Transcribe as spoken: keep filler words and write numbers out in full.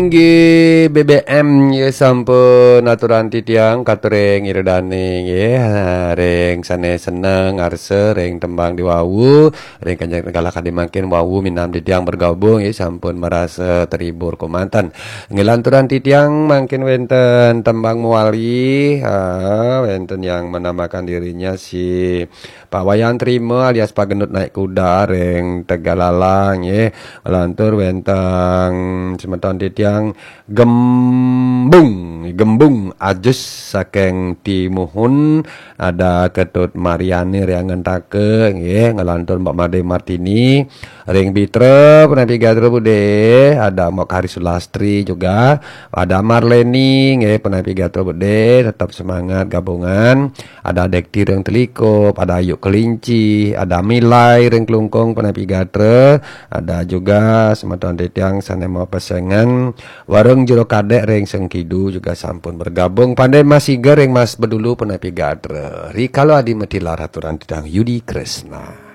Inggih, B B M nggih sampun aturan titiang katur ring Ida Dane nggih. Ha, ring sane seneng ngarsa ring tembang diwawu, ring kanjeng galah kadi mangkin wawu minam titiang bergabung nggih sampun marasa terhibur kemanten. Nggih lanturan titiang mangkin wenten tembang mawali, ha, wenten yang menamakan dirinya si Pak Wayan Trima alias Pak Gendut Naik Kuda ring Tegalalang nggih. Lantur wenten semeton titiang Gembung, Gembung Ajus saking Timuhun, ada Ketut Mariani ring Angantaka nggih, ngelantur Mbok Made Martini ring Bitra, punapi gatra Bude, ada Mbok Hari Sulastri juga, ada Marleni nggih, punapi gatra Bude, tetap semangat gabungan. Ada Dekti ring Telikup, ada Ayu Kelinci, ada Milai ring Klungkung, punapi gatra, ada juga semeton titiang sane mapesengan Warung Jero Kadek ring Sengkidu juga sampun bergabung. Pande Mas Iga ring Mas Bedulu, punapi gatra. Rikala adi matilar aturan titiang Yudi Kresna.